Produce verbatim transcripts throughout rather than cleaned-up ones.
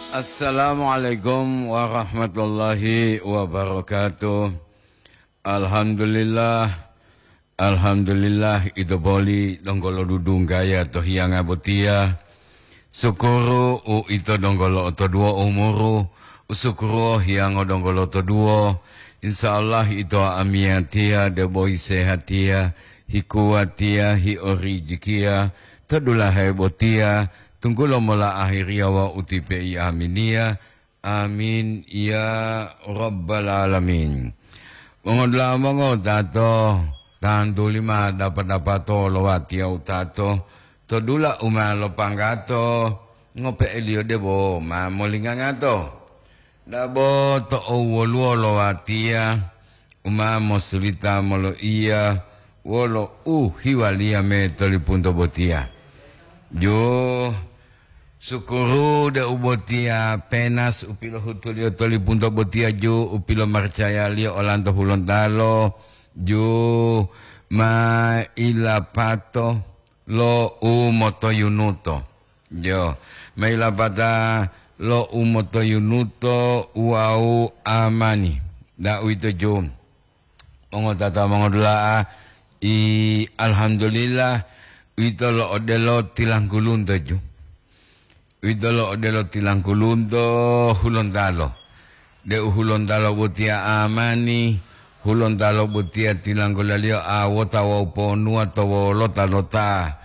Assalamualaikum warahmatullahi wabarakatuh. Alhamdulillah, alhamdulillah, ito boli donggo lodudunggaya to hiyanga botiya. Sukuru u ito donggo lo'otoduwo umuru, u sukuru hiyango donggo lo'otoduwo. Insya Allah ito amiyatiya debo hisehatiya, hikuwatiya, hiorijikiya, to dulahe botiya, tunggulo mola ahiriya wawu utipe'i aminiya. Amin, ya rabbal alamin. Mongodula'a mongotato, tantuli ma dapa-dapato lo watiya utato, to dula u ma lopanggato, ngope'eliyo debo ma molingangato. Dabo to owoluwo lo watiya, u ma mosulita moloiya wolo u hiwaliya me tolipunto botiya. Ju, sukuru deu botiya penas u pilohutuliyo tolipunto botiya ju u pilomarcayaliyo olanto Hulontalo, ju ma ilapato lo u motoyunuto. Jo, ma ilapata lo u motoyunuto wawu amani. Da'uwito ju. Mongotata mongodula'a, i, alhamdulillah, uwito lo odelo tilangkulunto ju. Uwito lo odelo tilangkulunto Hulontalo. Deu Hulontalo botiya amani, Hulontalo botiya tilanggulaliyo awota wawu ponuwa to wolota-lota,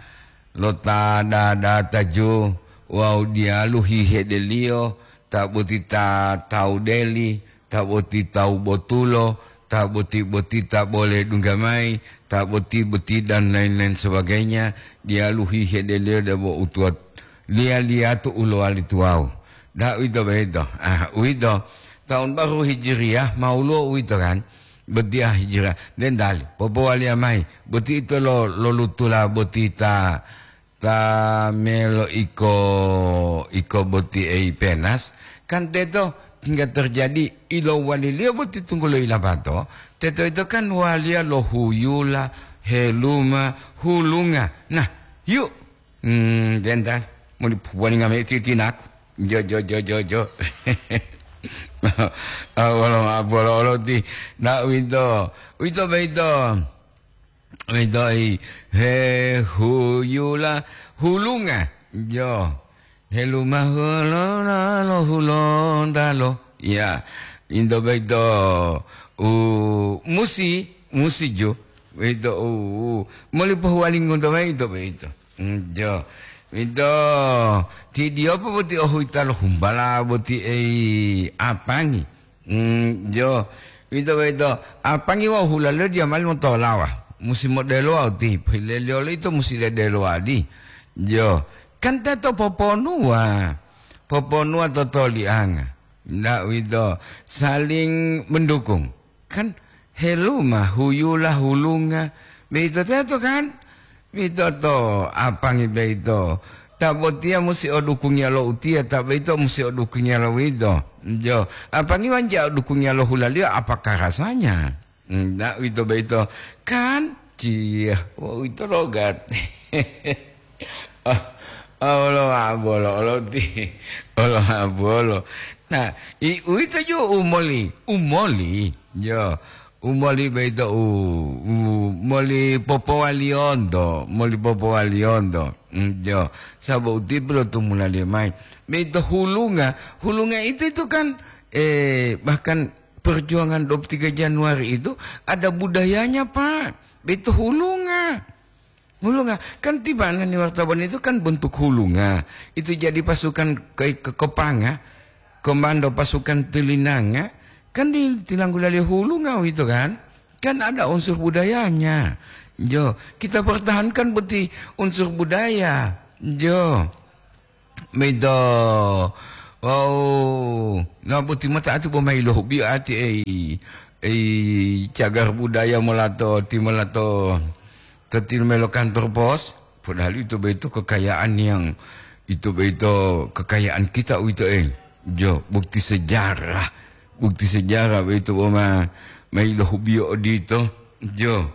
lo ta dadata ju wawu diyalu hihedeliyo, ta boti ta tawu deli, ta boti tawu botulo, ta boti-boti ta bole dungga mayi, ta boti-boti dan lain-lain sebagainya, diyalu hihedeliyo debo utuwa liya-liyatu u lowali tuwawu. Da'uwito boyito. Ah, uwito, tahun baru Hijriyah, ma woluwo uwito kan? Botiya Hijriyah. Dendali, popowaliya mayi, boti ito lo, lolutula boti ta ta melo iko, iko boti ei penas, kan teto hingga terjadi ilowaliliyo boti tunggulo ilapato, teto ito kan waliya lo huyula, heluma, hulunga. Nah, yu, hmm, dental, muli puwalinga me titinaku. Jo, jo, jo, jo, jo. Awolo, abolo, oloti. Nah, uwito, uwito boyito. Wedo'i, he huyula hulunga, jo, heluma hulunalo Hulontalo. Ya, into boyito u musi, musi jo, boyito u, u moli pohuwalingo to boyito, boyito. Mm, jo, boyito, ti diyopo boti ohuyita lo humbala boti ei apangi. Mm, jo, wito boyito, apangi wawu hulaliyo diya mali motolawa, musi modelowa uti, pohileliyo loyito musi ledelowa adi. Jo, kan teto poponuwa, poponuwa to tolianga. Nda uwito, saling mendukung. Kan heluma, huyula, hulunga, boyito teto kan? Boyito to apangi boyito. Ta botiya musi o dukungiya lo utiya, ta boyito musi o dukungiya lo uwito. Jo, apangi wanja o dukungiya lo hulaliyo, apakah rasanya? Nda uwito boyito. Kan? Ciya, wau ito logat. Ah, ah, olo ma'o bolo, olo ti, olo ma'o bolo. Nah, i uwito ju u moli, u moli, jo, u moli boyito u, u moli popowaliyonto, moli popowaliyonto. Mm, jo, sabo uti pilotumulaliyo mayi. Boyito hulunga, hulunga itu, itu kan, eh, bahkan perjuangan dua puluh tiga Januari itu ada budayanya, Pak. Boyito hulunga. Hulunga, kan tibanani wartawan itu kan bentuk hulunga. Itu jadi pasukan ke, ke Kepanga, komando pasukan Telinanga, kan di, tilanggulaliyo hulunga itu kan. Kan ada unsur budayanya. Jo, kita pertahankan boti unsur budaya. Jo. Boyito, wau, na boti mota ati bo mayi lohubiyo ati ei, ei cagar budaya molato, ti molato, to tilumelo kantor pos, padahal ito boyito kekayaan yang, ito boyito kekayaan kita uwito ei. Jo, bukti sejarah, bukti sejarah boyito bo ma, mayi lohubiyo odito. Jo.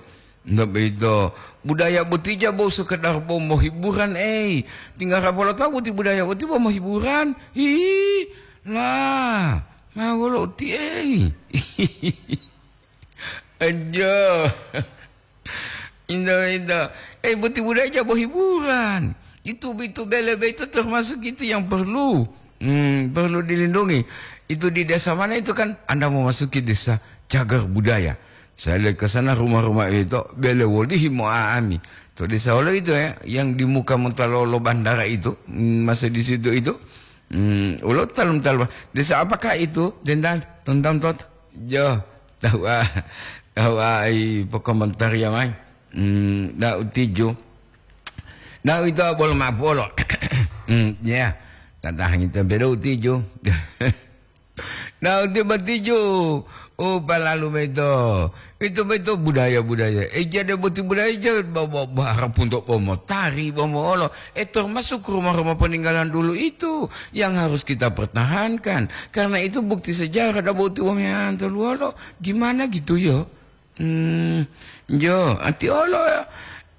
Ndak begitu. Budaya boti ja bo sekedar bo mo hiburan, ei. Tinggal rapolo tahu boti budaya boti bo mo hiburan. Hi, lah, ma wolo uti, ei. Aduh. Indah, indah. Eh, boti budaya ja bo hiburan. Itu, itu bele, itu termasuk itu yang perlu, hmm, perlu dilindungi. Itu di desa mana itu kan, Anda memasuki desa cagar budaya. Saya lihat ke sana rumah-rumah itu, bele wolihi mo'a'ami. To desa wolo itu ya, yang di muka mota lo, lo bandara itu, mm, masih di situ itu. Mm, ulo talum-talum. Desa apakah itu, Dendal? Tonton tot. Jo, tahu ah. Tahu ah, ai, pokomentar ya, mai. Mm, da utiju. Da itu bolo mapolo. Mm, ya. Tatahangi tempe da utiju. Nah, uti batijo, oh, palalu maito. Itu maito budaya-budaya. Eh, jadi boti budaya, ja-, ba-, ba-, ba-, harap untuk bomotari, bomoolo. Eh, termasuk rumah-rumah peninggalan dulu itu yang harus kita pertahankan. Karena itu bukti sejarah, da boti wong yang terluolo. Gimana gitu, yo? Hmm, jo, ati olo,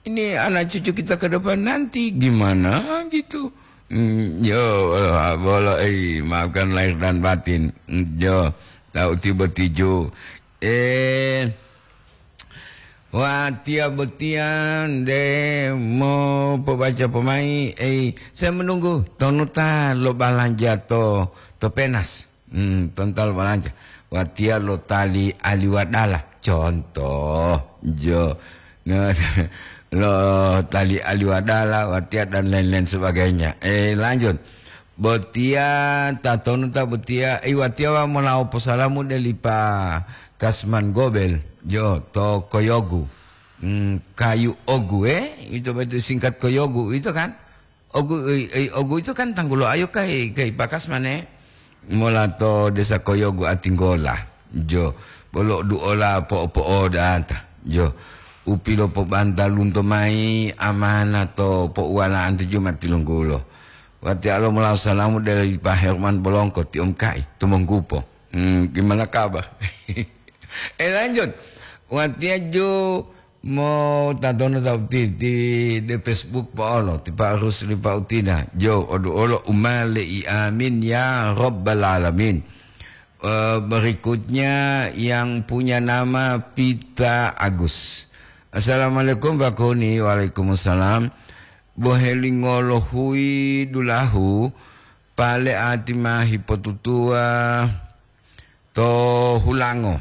ini anak cucu kita ke depan nanti gimana gitu. Hmm, jo, bolo, eh, maafkan lahir dan batin. Hmm, jo, tahu tiba tijo. Eh, wah, tiap botian de mau pobaca pemai, eh, saya menunggu tonuta lo balanja to, to penas. Hmm, tontal balanja. Watiya lo tali aliwadala. Contoh, jo. Nah, lo tali aliwadala, watiya dan lain-lain sebagainya. Eh, lanjut. Botiya, tatonu ta botiya, eh, watiya wa molawo posalamu deli pa Kasman Gobel, jo, to Koyogu. Hmm, kayu ogu, eh? Itu betul singkat Koyogu, itu kan? Ogu, ei, ei, ogu itu kan tanggulo ayo kai, kai bakas mane. Mola to desa Koyogu Atinggola. Jo, polo duola po-, po'odata. Jo, upilo pobantalunto mai amana to pouwala'anto jo matilunggulo. Wati alo mola salamu dari Pak Herman Bolongko, ti om kai, tumonggupo. Hmm, gimana kabar? Eh, lanjut. Watiya jo Mo tatono tauti ti de Facebook po'olo, ti Pak Rusli Pautina. Jo, odu olo umale i amin ya rabbal alamin. Eh, berikutnya yang punya nama Pita Agus. Assalamualaikum, Pak Kuni. Waalaikumsalam. Bohelingolo hui dulahu, pale ati ma hipotutuwa to hulango.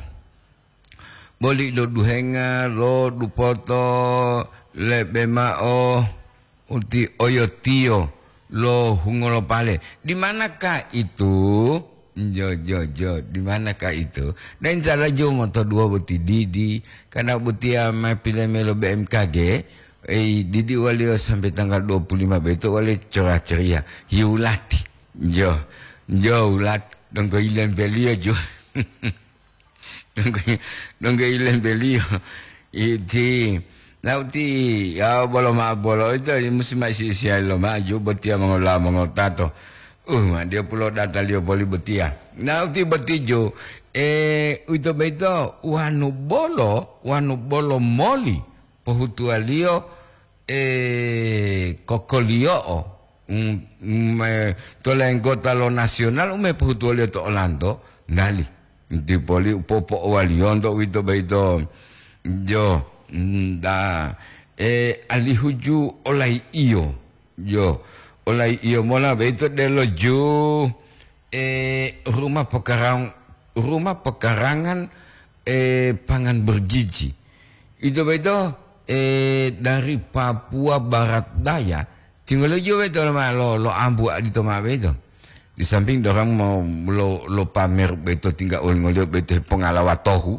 Boli lo duhenga lo dupoto lebe ma'o uti oyotiyo lo hungolopale. Di manakah itu? Jo, jo, jo. Di manakah itu? Dan insya Allah jo moto dua boti didi. Karena botiya ma pilemelo B M K G, eh, didi waliyo sampai tanggal dua puluh lima beto waliyo cerah ceria. Yulati. Jo. Jo, ulat. Donggo ilembeliyo jo. Donggo, donggo ilembeliyo. Iti. Nauti, ya, bolo ma-, bolo ito, musi ma isi-isiya lo maju, botiya mongola mongotato. Uh, ma dia pulo dataliyo boli botiya. Nauti botijo, eh, uito boyito, wanu bolo, wanu bolo moli, pohutuwaliyo, eh, kokoliyo'o, mm, mm, eh, to lenggota lo nasional u me pohutuwoliyo to olanto, nali. Dipoli u popo'owaliyonto uwito boyito, jo, mm, da, eh, alihu ju olayi'iyo, jo, olayi'iyo mola boyito delo ju, eh, rumah pekarang-, rumah pekarangan, eh, pangan bergizi. Ito boyito, eh, dari Papua Barat Daya, tinggal jo boyito lo ma-, lo, lo ambu adito ma boyito. Di samping dorang mau lo, lo pamer boyito tinggal olingoliyo boyito hepongala watohu.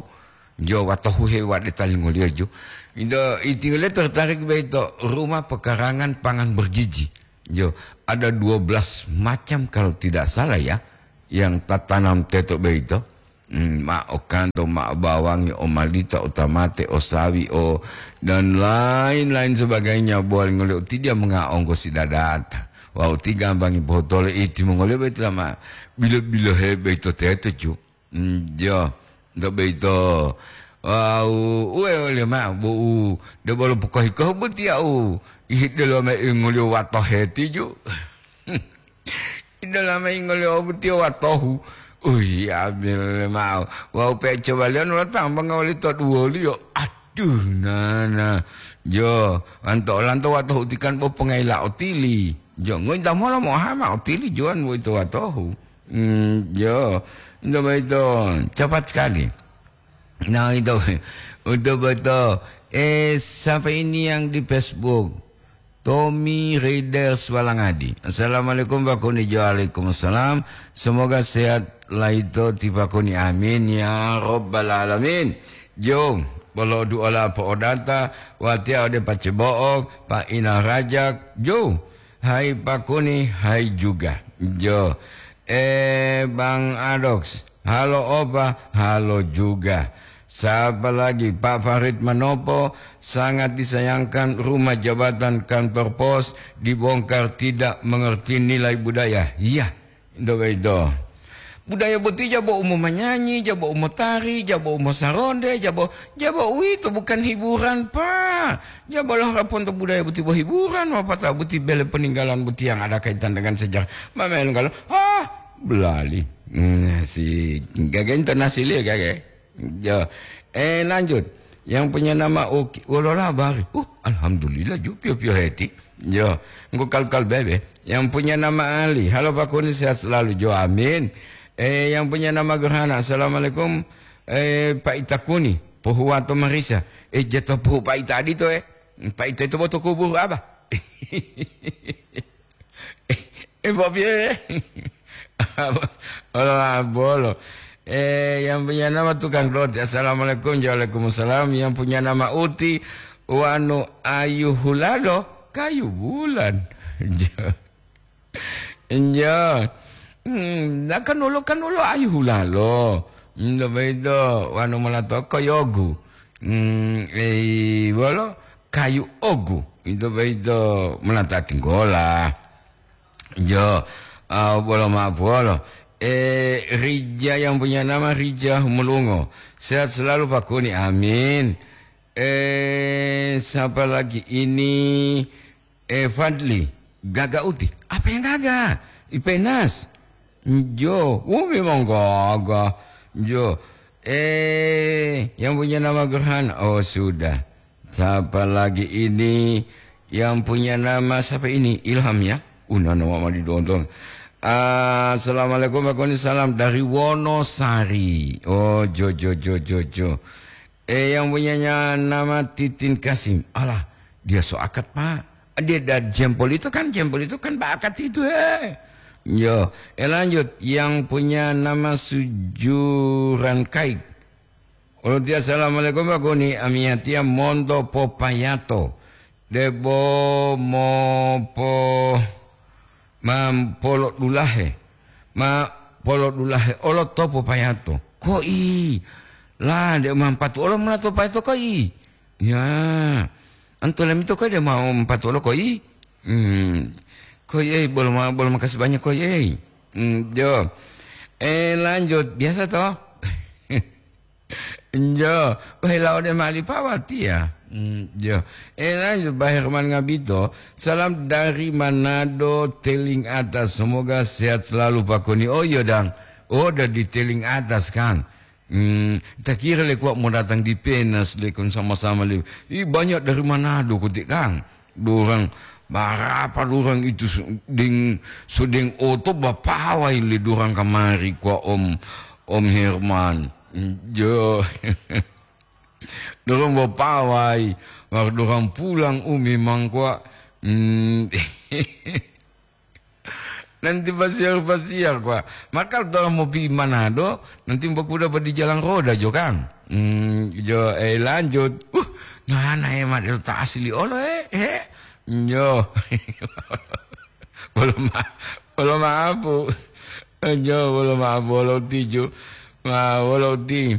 Jo watohu he wade talingoliyo jo. Ito, itinggal tertarik boyito rumah pekarangan pangan bergizi. Jo, ada dua belas macam kalau tidak salah ya, yang tatanam teto boyito. Hmm, ma o kanto, ma o bawangi, o malita, o tamate, o sawi, o, dan lain-lain sebagainya. Bowali ngoliyo ti dia mengaonggo si dadata. Wawu ti gambangi pohotole iti mongoliyo boyito ma bilo-bilohe boyito teto ju. Hmm, jo, nto boyito Wawu uwe oli ma'o bo'u debolo pokohi-kohu boti ya'u, ihidelo me ingoliyo wato hetiju. Idolama ingoliyo boti watohu. Uyi, ambil ma'o. Wawu pe cobaliyo nolo tambanga oli to duwoliyo. Aduh, nana. Jo, anto olanto watohu tikan bo pongayila otili. Jo, ngointa mola mo'oha ma'o otili jowan boyito watohu. Hmm, jo. Nto boyito, cepat sekali. Nah, itu. Untuk betul. Eh, siapa ini yang di Facebook? Tommy Raider Swalangadi. Assalamualaikum, Pak Kunijo. Waalaikumsalam. Semoga sehat laito ti Pak Kuni. Amin ya rabbal alamin. Jo, bolo duola po'odata, watia ode pacebo'o, Pak Ina Rajak. Jo, hai Pak Kuni, hai juga. Jo, eh, Bang Adox. Halo opa, halo juga. Siapa lagi? Pak Farid Manopo sangat disayangkan rumah jabatan kantor pos dibongkar, tidak mengerti nilai budaya. Iya, itu begitu. Budaya boti jabo umo manyanyi, jabo umo tari, jabo umo saronde, jabo, jabo uwito bukan hiburan, Pak. Jabo lo harapan to budaya boti bo hiburan, apa ta boti bele peninggalan boti yang ada kaitan dengan sejarah. Mamel kalau, ah, belali. Hmm, si gaga internasi liya gaga. Jo. Eh, lanjut. Yang punya nama Oki, wolola bari. Uh, alhamdulillah, ju pio-pio heti. Jo. Engko kal-kal bebe. Yang punya nama Ali. Halo Pak Kuni, sehat selalu, jo. Amin. Eh, yang punya nama Gerhana. Assalamualaikum. Eh, Pak Ita Kuni. Pohuwato marisa. Eh, jatuh pohu Pak Ita adito, eh. Pak Ita itu boto kubur apa? Eh, Pak Pie. Olo, bolo. Eh, yang punya nama tukang roti. Assalamualaikum. Waalaikumsalam. Yang punya nama Uti, wanu Ayu Hulalo, kayu bulan. Enjo. Hmm, na kanulo, kanulo Ayu Hulalo. Ndo bedo, wanu mola toko yogu. Hmm, eh, bolo, kayu ogu. Ito bedo, mola tatinggola. Jo, ah, bolo maaf, bolo. Eh, Rija yang punya nama Rija Humulungo. Sehat selalu, Pak Kuni. Amin. Eh, siapa lagi ini? Eh, Fadli. Gaga Uti. Apa yang gaga? Ipenas. Jo. Oh, memang gaga. Jo. Eh, yang punya nama Gerhan. Oh, sudah. Siapa lagi ini yang punya nama siapa ini? Ilham ya? Una nama ma didontong. Ah, assalamualaikum, Pak Koni. Salam dari Wonosari. Oh, jo, jo, jo, jo, jo. Eh, yang punyanya nama Titin Kasim. Alah, dia so akad, Pak. Dia dari Jempol itu kan, Jempol itu kan Pak Akad itu, eh. Yo, eh, lanjut. Yang punya nama Sujuran Kaik. Olo tiya, "Assalamualaikum, Pak Koni. Amiyatiya monto popayato. Debo mopo-, ma polodulahe. Ma polodulahe olo to popayato." Koi. La, de mampatu olo mula to payato koi. Ya. Anto lemito koi de mau mpatu olo koi. Hmm. Koi, eh, bolo ma-, bolo makasih banyak koi, eh. Hmm, jo. Eh, lanjut. Biasa toh? Njo, wahila ode mali pawatiya. Mm, jo. Ena jo, Bah Herman Ngabito, salam dari Manado, Teling Atas. Semoga sehat selalu, Pak Koni. Oh, iya, dang. Oh, dari Teling Atas, kan. Hmm, tak kira le kuat mau datang di Penas, le, kon sama-sama, le. Ih, banyak dari Manado, kutik, kan. Dorang, barapa dorang itu su-, deng, sedeng oto bapawai le dorang kamari, kwa Om, Om Herman. Jo. Dorang bapawai, war dorang pulang umi mangkwa. Hmm. Nanti pasiar-pasiar, kwa. Maka dorang mau pi Manado, nanti bakuda pa di jalan roda jo, kan. Hmm, jo, eh, lanjut. Uh, nah, nah, hemat ta asli olo, eh, eh. Yo. Bolo ma-, bolo maapu. Yo, bolo maapu, bolo tiju. Ma, bolo ti.